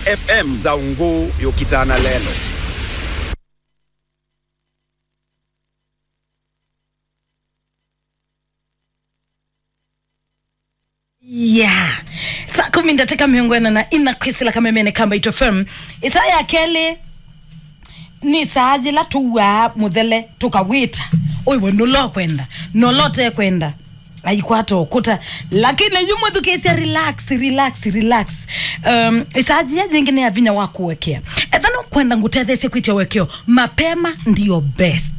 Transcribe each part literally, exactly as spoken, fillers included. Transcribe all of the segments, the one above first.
F M za Ungũ yũkitana lelo. Yeah. Saa kũmi ndatĩka mĩongo ĩna na ina kwĩsĩla kamemene ka Mbaitũ F M. Ĩsaa ya kelĩ nĩ saa yĩla tũw'aa mũthele tũkawĩta. Ũiwe nũla ũkwenda, nũla ũtekwenda. Aikwata ũkũta. Lakini yu mũthukĩĩsya, relax, relax, relax. Um, ĩsaa yĩya yĩngĩ nĩ ya vinya wa kũekea. Etha nũkwenda ngũtetheesye kwĩtya ũekeo, mapema ndio best.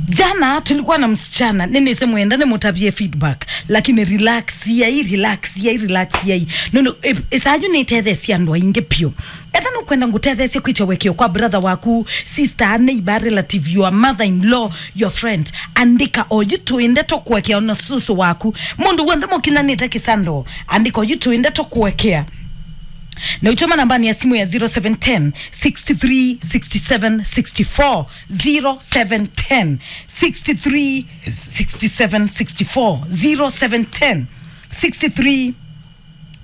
Jana tulikuwa na msichana, nĩnĩsĩ mwenda nĩmũtavie feedback, lakini relax yai, relax yai, relax yai. Nũndũ ĩ-, ĩsaa yu nĩtetheesye andũ aingĩ piũ. Etha nũkwenda ngũtetheesye kwĩtya ũekeo kwa brother waku, sister, neighbor, relative, your mother-in-law, your friend, andĩka oyu tũĩ ndeto kũekea ona susu waku. Mũndũ w'onthe mũkinyanĩte kĩsando, andĩka oyu tũĩ ndeto kũekea. Na ũtũma nambani ya simu ya zero seven ten, six three, six seven, six four, zero seven ten, six three, six seven, six four, zero seven ten, six three,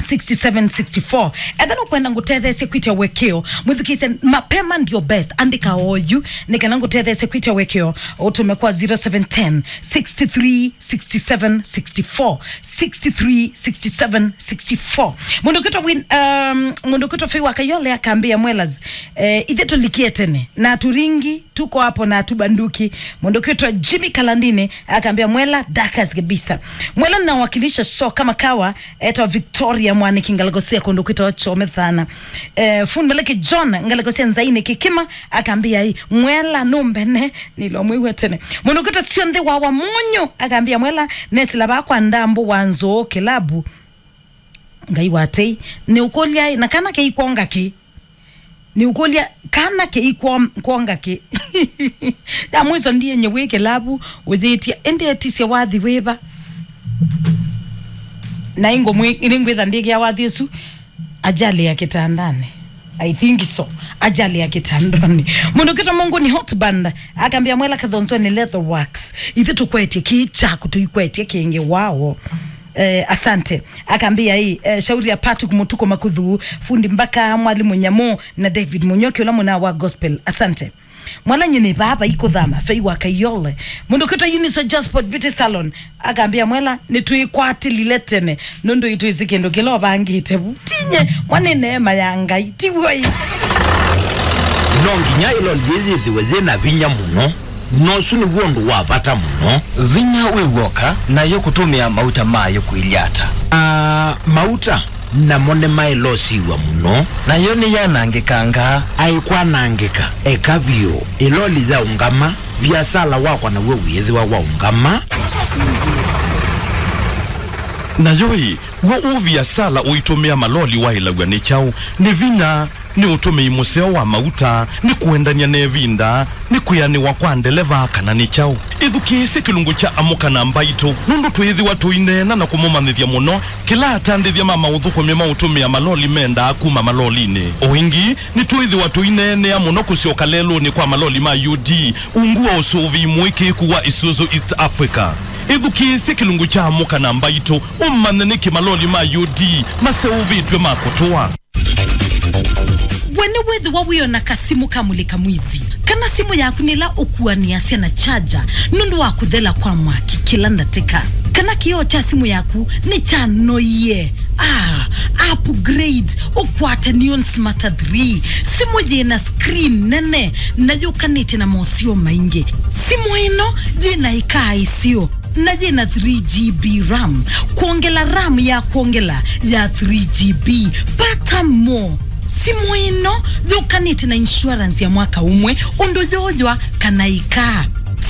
six seven, six four. Etha nũkwenda ngũtetheesye kwĩtya ũekeo, mwĩthukĩĩsye, mapema ndio best. Andĩka oyu nĩ kana ngũtetheesye kwĩtya ũekeo, ũtũme kwa zero seven ten, six three, six seven, six four, six three, six seven, six four. Mũndũ kwĩtwa Win-, um, mũndũ kwĩtwa Fei wa Kayole akambĩa, Mwelas, eh, ithe tulikie tene na turingi, tuko hapo na tubanduki. Mũndũ kwĩtwa Jimmy Kalandini akambĩa, Mwela dakas kabisa. Mwela nawakilisha show kama kawa, etwa Victoria Mwaniki, ngalĩko sya kũndũ kwĩtwa Chome thana. Eh, fundi Maleke John, ngalĩko sya Nzaini Kĩkima, akambĩa, ĩ, Mwela nũmbene, nĩlo mwĩw'a tene. Mũndũ kwĩtwa Sionthe wa Wamunyu akambĩa, Mwela nesĩla vaa kwa Ndambũ wa Nzũũ kĩlabu. Ngai wa tei, nĩ ũkũlya, ĩ, na kana kĩikwonga kĩ? Nĩ ũkũlya, kana kĩikwonga kĩ? Ya mwiso ndienye wĩ kĩlabu ũyĩtya, ĩndĩ etisye wathi wĩva? Na ingũmwĩ-, nĩngwĩtha ndĩkĩa wathi ũsu, ajali ya kitandani. I think so. Ajali ya kitandani. Mũndũ kwĩtwa Mungu ni hot band akambĩa, Mwela Kathonzweni Leather Works. Ithe tũkwetye kĩĩ kyaku, tũikwetye kĩngĩ wao. Eh, asante. Akambĩa ĩ, eh, shauri ya Patrick Mutuko Makuthu, fundi Mbaka, Mwalimu Nyamu, na David Munyoki, ũla mũna wa gospel. Asante. Mwela nyie nĩ vaa vai kũthama, Fei wa Kayole. Mũndũ kwĩtwa Uniso Josport Beauty Salon akambĩa, Mwela nĩtwĩkwatĩlile tene, nũndũ itwĩsĩ kĩndũ kĩla ũvangĩte vu. Tinye, mwa nĩ neema ya Ngai, ti w'o ĩ? No nginya ĩloli yĩĩ yĩthĩwe yĩ na vinya mũno. Na ũsu nĩw'o ũndũ wa vata mũno. Vinya wĩ w'oka, nayo kũtũmĩa mauta mayo kwĩlyĩ ata? Aa, mauta namo nĩmaĩlosiw'a mũno. Nayo nĩyanangĩkangaa. Aĩ kwanangĩka, eka vyũ. Ĩloli yaũngama, viasala wakwa naw'o wĩĩthĩwa waũngama. Nayo ĩ, w'o ũviasala ũitũmĩa maloli waĩlaw'a nĩ kyaũ? Nĩ vinya? Nĩ ũtũmĩi mũseo wa mauta? Nĩ kũendany'a na ĩvinda? Nĩ kwĩanĩwa kwa ndeleva, kana nĩ kyaũ? Ĩthukĩĩsye kĩlungu kya Amũka na Mbaitũ, nũndũ twĩĩthĩwa tũineena na kũmũmanyĩthya mũno kĩla atandĩthya ma maũthũkũmi ma ũtũmĩa maloli mendaa kuma malolinĩ. O ĩngĩ, nĩtwĩĩthĩwa tũineenea mũno kũsyoka lelũnĩ kwa maloli ma U D, ungu wa ũsũvĩi mũĩkĩĩku wa Isuzu East Africa. Ĩthukĩĩsye kĩlungu kya Amũka na Mbaitũ, ũmanye nĩkĩ maloli ma U D maseũvĩtw'e ma kũtũa. We nĩwĩthĩwa wĩona kasimũ ka mũlĩka mwizi, kana simũ yaku nĩ ĩla ũkuanĩasya na charger nũndũ wa kũthela kwa mwaki kĩla ndatĩka? Kana kĩoo kya simũ yaku nĩkyanoie? Ah, upgrade, ũkwate Neon Smarter three, simũ yĩna screen nene na yũkanĩtye na moseo maingĩ. Simũ ĩno yĩna ĩkaa ĩseo na yĩna three G B RAM, kwongela RAM ya kwongela ya three G B. Pata more. Simũ ĩno yũkanĩte na insurance ya mwaka ũmwe, ũndũ yooywa kana ĩkaa.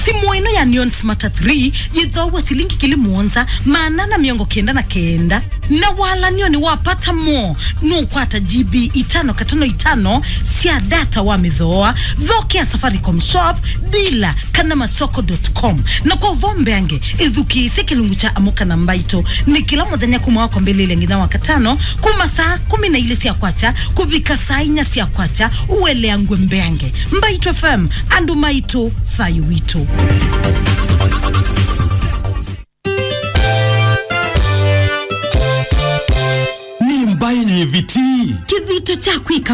Simũ ĩno ya Neon Smarter three yĩthoaw'a silingi ngili mũonza maana ana mĩongo kenda na kenda. Na walanionĩ wa Pata More, nũkwata G B itano katono itano sya data wa mĩthooa. Thokea Safaricom Shop, dealer, kana masoko dot com. Na kwa ũvoo mbeange, ĩthukĩĩsye kĩlungu kya Amũka na Mbaitũ nĩ kĩla mũthenya kuma wa kwambĩlĩlya nginya wa katano, kuma saa kũmi na ilĩ sya kwakya kũvika saa inya sya kwakya, ũeleangw'e mbeange. Mbaitũ F M, andũ maitũ, thayũ witũ. Nĩ Mbaitũ. Yĩviti. Kĩthito kya kwĩka